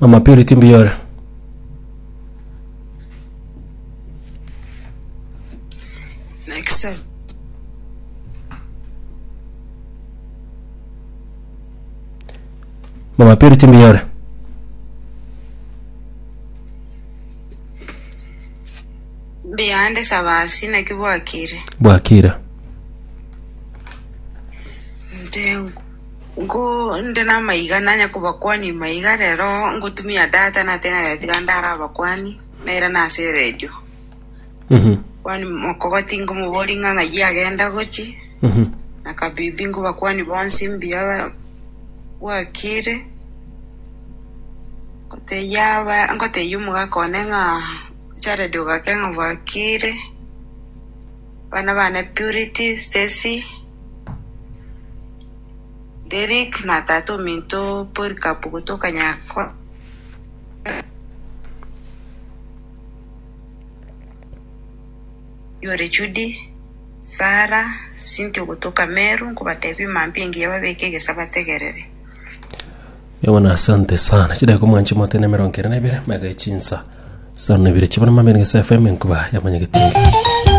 Mama Purity mbuya ore. Naki sir. Mama Purity mbuya ore. Mbuyande Sabasi naki bwakire. Bwakire. Inche nko nde namaiga nanya kobakwania maiga rero ngotumia data nateba ng'a tiga ndarabakwani nairane ase eredio. Mhm. Kwani mokogoti nkomoboria ng'a ng'ai agenda gochi Mhm. na kabibi nkobakwani bonsi mbuya ba- bwakire. Ngotebia aba ngotebia omogaka one ng'a Jared ogake ng'a bwakire, abana bane Purity, Stacy, Derrick na tata ominto Polycarp gotoka Nyakora. Yore Judy, Sarah, Cynthia ogotoka Meru, nkobatebia mambia engiya babeke egesa bategerere. Ewana asante sana chidakika omwanchi mote na emerongo ere na ibere mega echinsa isano na ibere chibona mambia na Gesa FM enkuba ya mwanyagetinga.